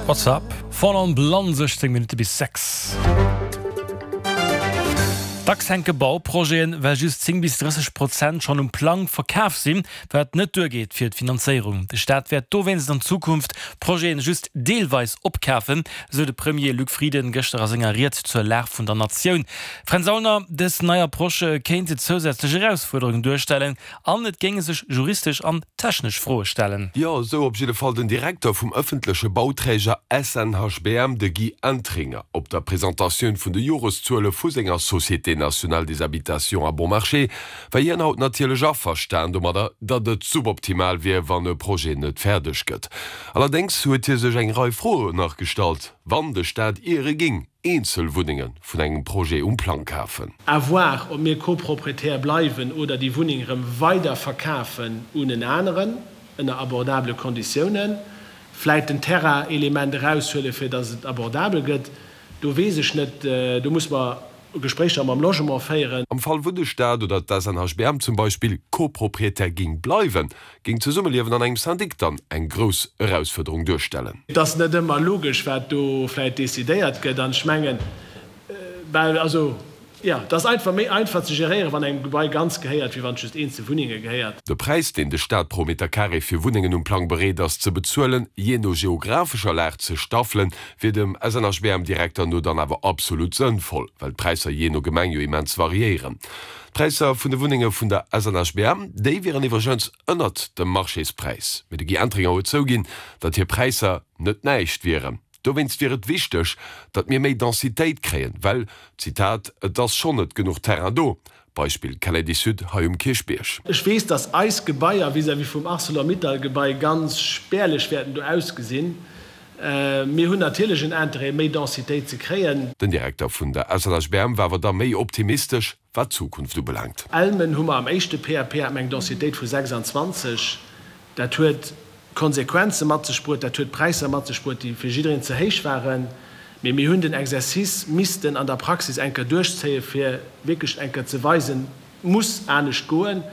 What's up? Voll on Blonde, 16 Minutte bis 6. Dacks hänke Bauprojeten, well just 10 bis 30 Prozent schonn um Plang verkaf sinn, wat net duergeet fir d'Finanzéierung. De Staat wäert dowéinst an Zukunft Projeten just deelweis opkafen, esou de Premier Luc Frieden gëschter a senger Ried zur Lag vun der Natioun. Fränz Aulner, Dës nei Approche kéinte zousätzlech Erausfuerderungen duerstellen An et géinge sech juristesch an technesch Froe stellen. Jo, esou op jidde Fall den Direkter vum ëffentleche Bauträger SNHBM, de Guy Entringer, op der Presentatioun vun de Joreszuele vu senger Société nationale des habitations à bon marché, war hien haut natierlech averstan domadder, datt et suboptimal wier, wann e Projet net fäerdeg gëtt. Allerdéngs huet hie sech eng Rei Froen nach gestallt, wann de Staat iere géing eenzel Wunnenge vun engem Projet um Plang kafen. À voir, ob mir Copropriétaire bleiwen oder déi Wunneng erëm weider verkafen un en aneren, ënner abordabele Konditiounen. Vläit den Terrain-Element eraushuelen, fir datt et abordabel gëtt. Do weess ech net, do muss mer Gespréicher mam Logement féieren. Am Fall wou de Staat oder d'SNHBM zum Beispill Copropriétaire géing bleiwen, Géing d'Zesummeliewen an engem Syndic dann eng grouss Erausfuerderung duerstellen? Et ass net ëmmer logesch, wat do vläicht decidéiert gëtt. An ech mengen, well, also, jo, et ass einfach méi einfach ze geréieren, wann engem Gebai ganz gehéiert, wéi wann et just eenzel Wunnenge gehéiert. De Präis, deen de Staat pro Meter carré fir Wunnengen um Plang bereet ass ze bezuelen, jee no geographescher Lag ze staffelen, wier dem SNHBM-Direkter no dann awer absolut sënnvoll, well d'Präisser jee no Gemeng jo immens variéieren. D'Präisser vun de Wunnenge vun der SNHBM, déi wieren iwwregens ënnert dem Marchéspräis. Mee de Guy Entringer huet zouginn, datt hir Präisser net näischt wieren. Dowéinst wier et wichteg, datt mir méi Densitéit kréien, well, Zitat, et ass schonn net genuch Terrain do. Beispill Kennedy Sud hei um Kierchbierg. Ech weess, datt eis Gebaier vis-à-vis vum Arcelor-Mittal-Gebai ganz spärlech wäerten do ausgesinn. Mir hunn natierlech en Interêt, méi Densitéit ze kréien. Den Direkter vun der SNHBM war awer da méi optimistesch, wat d'Zukunft ubelaangt. Elmen hu mer am éischte PAP hat mer eng Densitéit vu 26. Dat huet Konsequenze mat sech bruet, dat huet Präisser mat sech bruet, déi fir jiddereen ze héich waren. Mee mir hunn den Exercice missten an der Praxis eng Kéier duerchzéien, fir wierklech eng Kéier ze weisen, Et muss anescht goen.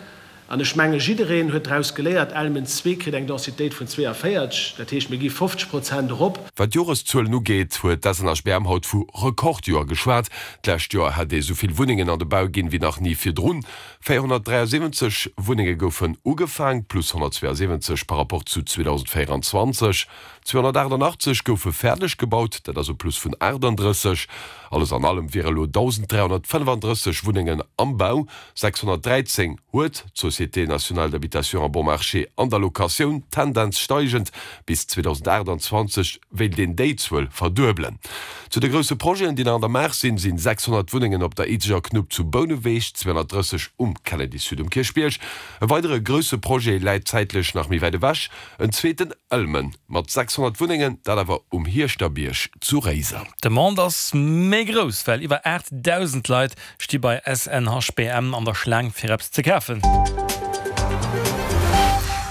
An ech menge jiddereen huet draus geléiert, Elmen zwee kritt eng Densitéit vun 42, dat heescht mir gi 50 Prozent erop. Wat d'Joreszuelen ugeet, huet d'SNHBM haut vu Rekordjoer geschwat. D'lescht Joer hätt ee souvill Wunnengen an de Bau ginn, wéi nach ni virdrun. 473 Wunnenge goufen ugefaang, plus 172 par rapport zu 2024. 288 goufe fäerdeg gebaut, dat ass e Plus vun 38. Alles an allem wiere elo 1.335 Wunnengen am Bau, 613 huet d'Société nationale d'habitation à bon marché an der Locatioun, Tendenz steigend, bis 2028 wéilt een déi Zuel verduebelen. Zu de grousse Projeten, déi nach an der Maach sinn, sinn 600 Wunnengen op der Izeger Knupp zu Bouneweg, 230 um Kennedy Sud um Kierchbierg. E weidere grousse Projet läit zäitlech nach méi wäit ewech, en zweeten Ëlmen mat 600 Wunnengen, dat awer um Hierschterbierg zu Réiser. D'Demande ass méi grouss, well iwwer 8.000 Leit Sti bei SNHBM an der Schlaang fir eppes ze kafen.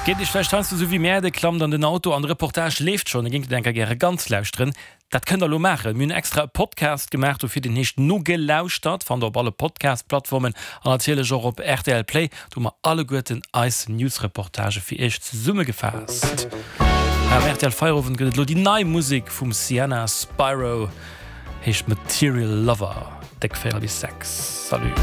Geet Iech vläicht heiansdo esou wéi mär, Dir klammt an den Auto an de Reportage leeft schonn, Dir géingt et enker gäre ganz lauschteren. Dat kënnt der elo maachen. Mir hunn extra e Podcast gemaach dofir, deen heescht Nogelauschtert, fannt der op alle Podcast-Plattformen an natierlech och op rtl Play. Do hu mer alleguerten eis News-Reportagë fir Iech zesummegefaasst. Am rtl Feierowend gëtt et elo déi nei Musek vum Sienna Spiro, heescht Material Lover. Déck 4 bis 6. Salut.